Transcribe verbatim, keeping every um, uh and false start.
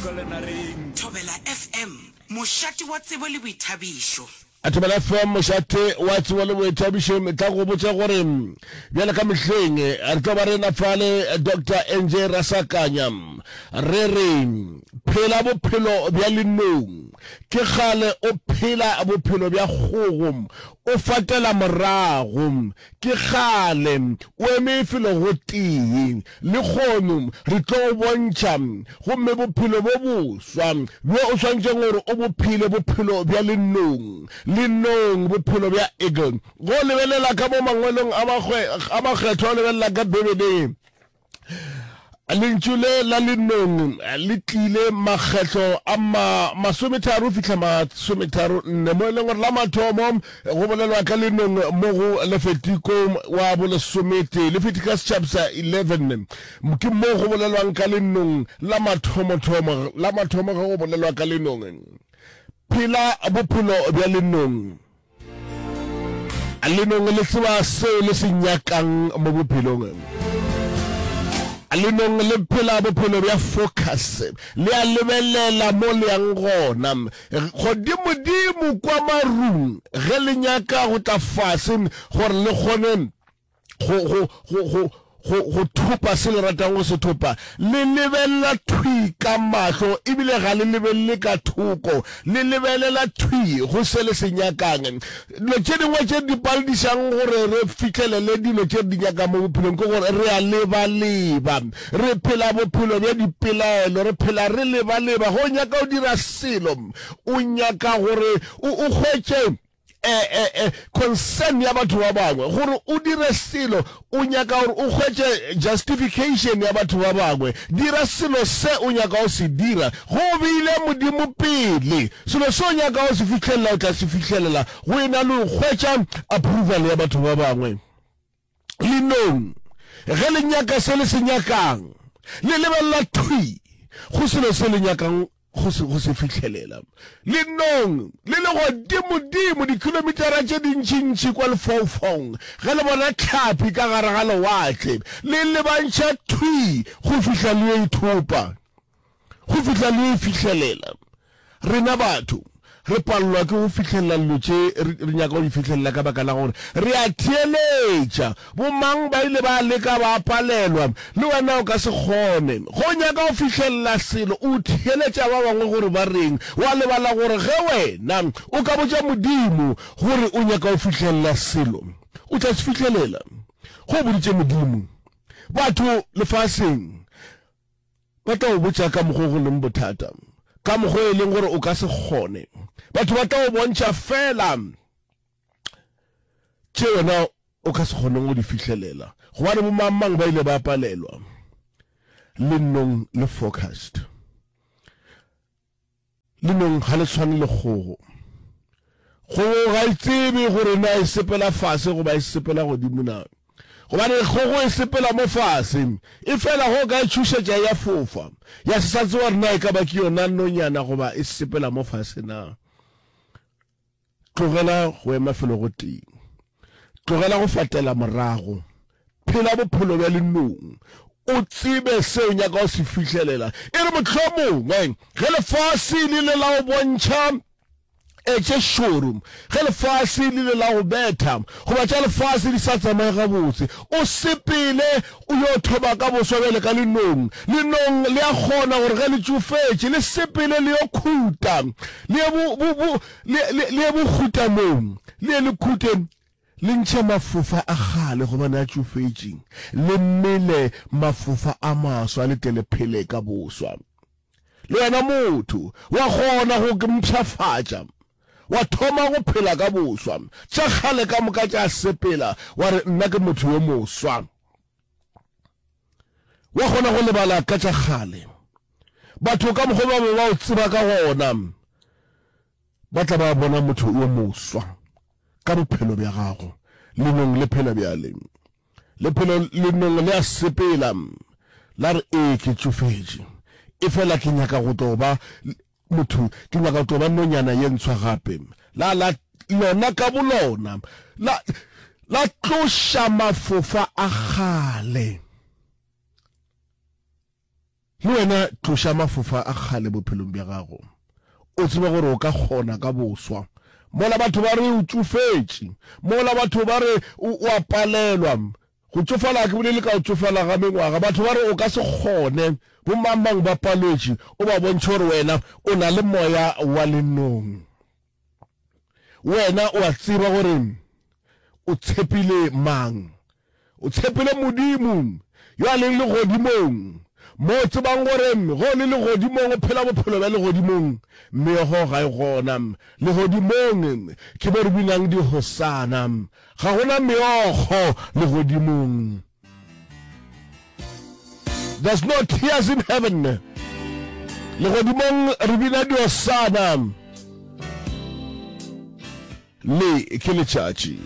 Utlwalenareng. Thobela F M, mošate wa tsebo le boithabišo. Thobela F M, mošate wa tsebo le boithabišo, tla go botša gore bjale ka mehleng re tlo ba re na fale Doctor N J Rasakanya. Re re phela bophelo bja lenong. Ke kgale o phela bophelo bja kgogo, o fatela morago. Ke kgale o eme felo gotee. Lehono re tlo go bontšha gomme bophelo bo boswa bjo o swanetšeng gore o bo phele, bophelo bja lenong. Lenong, bophelo bja eagle. Go lebelela ka mo mangwalong a makgethwa, o lebelela ka Bibeleng, lentšu le la lenong le tlile makgetlo a ma masometharo fihla masometharo nne, mo e leng gore la mathomo go bolelwa ka lenong mo go Lefetiko wa bolesomete, Leviticus chapter eleven, ke mo go bolelwang ka lenong la mathomothomo, la mathomo ge go bolelwa ka lenong. Phela bophelo bja lenong. Lenong le tseba seo le se nyakang mo bophelong. Lenong le phela bophelo bja focus, le a lebelela mo le yang gona godimodimo kwa marung. Ge le nyaka go tla fase gore le kgone go go go go go go thopa se le ratang go se thopa, le lebelela thwi ka mahlo, ebile ga le lebelele ka thoko, le lebelela thwi go se le se nyakang. Dilo tše dingwe tše di paledišang gore re fihlelele dilo tše re di nyakang mo bophelong ke gore re a lebaleba, re phela bophelo bja dipelaelo, re phela re lebaleba. Ge o nyaka go dira selo, o nyaka gore o hwetše eh, eh, eh, concern ya batho ba bangwe gore o dire selo, o nyaka gore o hwetše justification ya batho ba bangwe. Dira selo se o nyaka go se dira go beile Modimo pele. Selo se o nyaka go se fihlelela, o tla se fihlelela go e na le go hwetša approval ya batho ba bangwe. Lenong ge le nyaka se le se nyakang, le lebelela thwi go selo se le nyakang go se go se fihlelela. Lenong le le godimodimo dikilomitara tše dintšintši kwa lefaufaung, ge le bona tlhapi ka gare ga lewatle, le lebantšha thwi go fihla le yo ithopa, go fihla le yo e fihlelela. Rena batho re palelwa ke go fihlelela dilo tše re nyaka go di fihlelela ka baka la gore re a theeletša. Bomang ba ile ba leka ba palelwa, le wena o ka se kgone. Ge o nyaka go fihlelela selo, o theeletša ba bangwe gore ba reng, wa lebala gore ge wena o ka botša Modimo gore o nyaka go fihlelela selo, o tla se fihlelela. Ge o boditše Modimo, batho lefaseng ba tla o botša ka mokgwa o go leng bothata, ka mokgwa e leng gore o ka se kgone. Batho ba tla o bontšha fela tše wena o ka se kgoneng go di fihlelela, gobane bomangmang ba ile ba palelwa. Lenong le focused. Lenong ga le tshwane le kgogo. Kgogo ga e tsebe gore na e sepela fase goba e sepela godimo na, gobane kgogo e sepela mo fase, e fela go ka e tšhošetša ya fofa, ya se sa tseba gore na e ka ba ke yona nonyana goba e sepela mo fase na. Tlogela go ema felo go tee, tlogela go fatela morago, phela bophelo bja lenong, o tsebe se o nyaka go se fihlelela. E re mohlomongwe ge lefase le ile la go bontšha e tše šoro, ge lefase le ile la go betha, goba tša lefase di sa tsamaye gabotse, o sepele o yo thoma ka boswa bjale ka lenong. Lenong le a kgona gore ge le tšofetše le sepele le yo khuta, le ye bo, bo, bo, le, le, le ye bokhutamong, le ye le khute, le ntšhe mafofa a kgale gobane a tšofetše, le mele mafofa a maswa, le tle le phele ka boswa. Le wena motho wa kgona go mpshafatša, wa thoma go phela ka boswa, tša kgale ka moka tša sepela, wa re nna ke motho yo moswa. Wa kgona go lebala ka tša kgale. Batho ka mokgwa ba be ba o tseba ka gona, ba tla ba bona motho yo moswa ka bophelo bja gago. Lenong le phela bjale, lephelo lenong le a sepela, la re ee ke tšofetše, efela ke nyaka go tlo ba motho, ke nyaka go tlo ba nonyana ye ntshwa gape. La la lona ka bolona la la tloša mafofa a kgale, Le wena tloša mafofa a kgale bophelong bja gago, o tsebe gore o ka kgona ka boswa. Mola batho ba re o tšofetše, mola batho ba re o a palelwa. Go tšofala ga ke bolele ka go tšofala ga mengwaga. Batho ba re o ka se kgone, bomangmang ba palwetše, o ba bontšhe gore wena o na le moya wa lenong. Wena o a tseba gore o tshepile mang. O tshepile Modimo yo a leng legodimong, mo o tsebang gore ge o le legodimong o phela bophelo bja legodimong, meogo ga e gona. Legodimong ke mo re binang dihosana, ga go na meokgo legodimong. There's no tears in heaven. Legodimong re bina dihosana. Le ke letšatši.